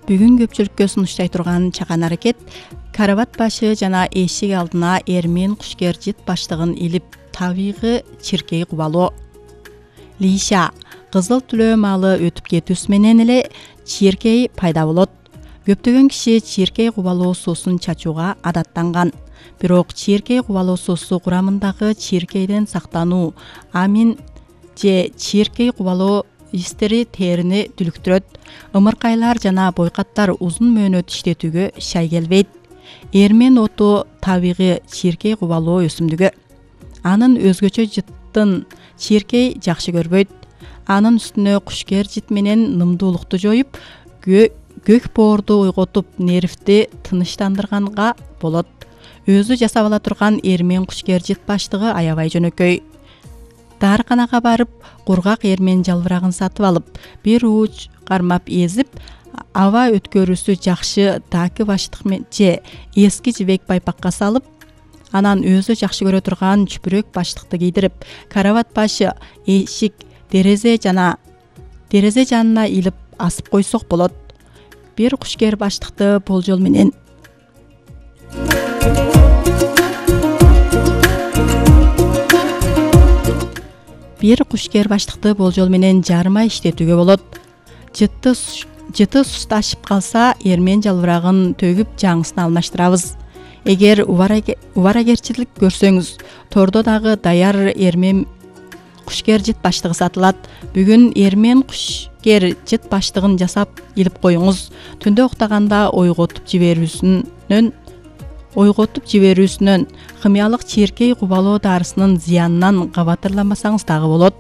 Бүгүн көпчүлүккө сунуштай турган чакан аракет карават башы жана эшик алдына эрмен кушкер жыт баштыгын илип табигы чиркей кубалоо. Лиша кызыл түлөө маалы өтүп кетүүсү менен эле чиркей пайда болот. Көптөгөн киши чиркей кубалоо суусун чачууга адаттанган. Бирок чиркей кубалоо суусу курамындагы чиркейден сактануу, амин же чиркей кубалоо истери терини дүлүктүрөт. Ымыркайлар жана бойкаттар узун мөөнөт иштетүүгө шай келбейт. Эрмен оту табигы чиркей кубалоо өсүмдүгү. Анын өзгөчө жыттын чиркей жакшы көрбөйт. Анын үстүнө кушкер жыт менен нымдуулукту жоюп, көк боорду ойготуп, нервти тынычтандырганга болот. Өзү жасап ала турган эрмен кушкер жыт баштыгы аябай жөнөкөй. Дарыканага барып, кургак эрмен жалбырагын сатып алып, бир ууч кармап эзип, аба өткөрүүсү жакшы даки баштык же эски жибек байпакка салып, анан өзү жакшы көрө турган чүпүрөк баштыкты кийдирип, карават башы, эшик, дерезе жанына илип асып койсок болот. Бир кушкер баштыкты болжол менен жарыма иштетүүгө болот. Жыты сусташып калса, эрмен жалбырагын төгүп жаңысын алмаштырабыз. Эгер убарагерчилик көрсөңүз, тордо дагы даяр эрмен кушкер жыт баштыгы сатылат. Бүгүн эрмен кушкер жыт баштыгын жасап илип коюңуз. Түндө уктаганда ойготуп жиберүүсүнөн, химиялык чиркей кубалоо дарысынын зыянынан кабатырламасаңыз дагы болот.